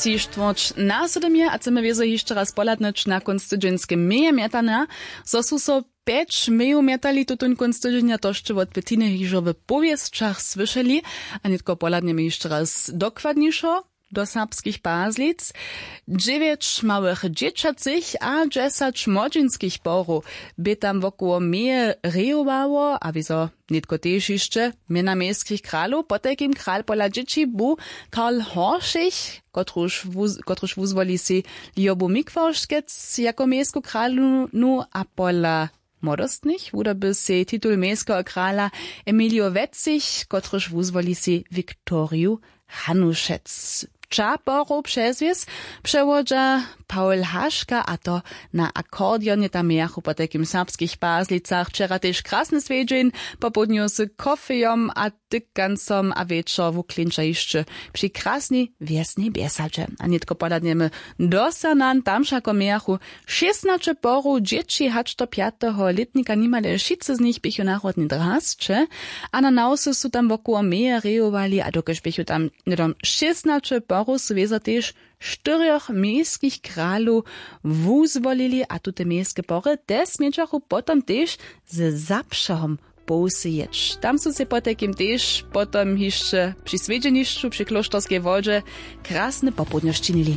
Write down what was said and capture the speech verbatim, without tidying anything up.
Tři štwórć na sydom je a chcemy wězo hišće raz pohladnyć na kónc tydźeńske meje mjetanja, zo su so pjeć mejow mjetali tutón kónc tydźenja, to sće wot pětiny hižo w powěsćach słyšeli. A nětko pohladnjemy hišće raz dokładnišo do serbskich pazlic. Dźewjeć małych dźěćacych a dźesać młodźinskich porow bě tam wokoło meje rejowało a wězo nětko tež hišće mjena mejskich kralow, potajkim kral pola dźěći bu karl horšich, kotruž wuz- kotruž wuzwoli sej liobu mikworškec jako mejsku kralownu a pola młodostnych wudoby sej titul mejskeho krala emilio wetzich, kotruž wuzwoli sej viktoriju hanušec. Tša porow přezwěz přewodźa paul haška a to na akordeon je tam mejachu po tajkim serbskich pazlicach wčera tež krasny swjedźeń, popołdnju z kofejom a tykancom a wječor wuklinča hišće při krasnej wjesnej bjesadźe. A nětko pohladnjemy do sernan, tam wšako mějachu šěsnaće porow dźěći hač do pjateho lětnika nimale wšitcy z nich běchu narodne drasće. A na nawsy su tam wokoło meje rejowali a dokelž běchu tam hnydom šěsnaće porow su wězo tež štyrjoch mejskich kralow wuzwolili a tute mejske pory te smědźachu potom tež ze zapšahom połsy jěć. Tam su sej potajkim tež potom hišće při swjedźenišću při klóšterskej wodźe krasne popołdnjo sčinili.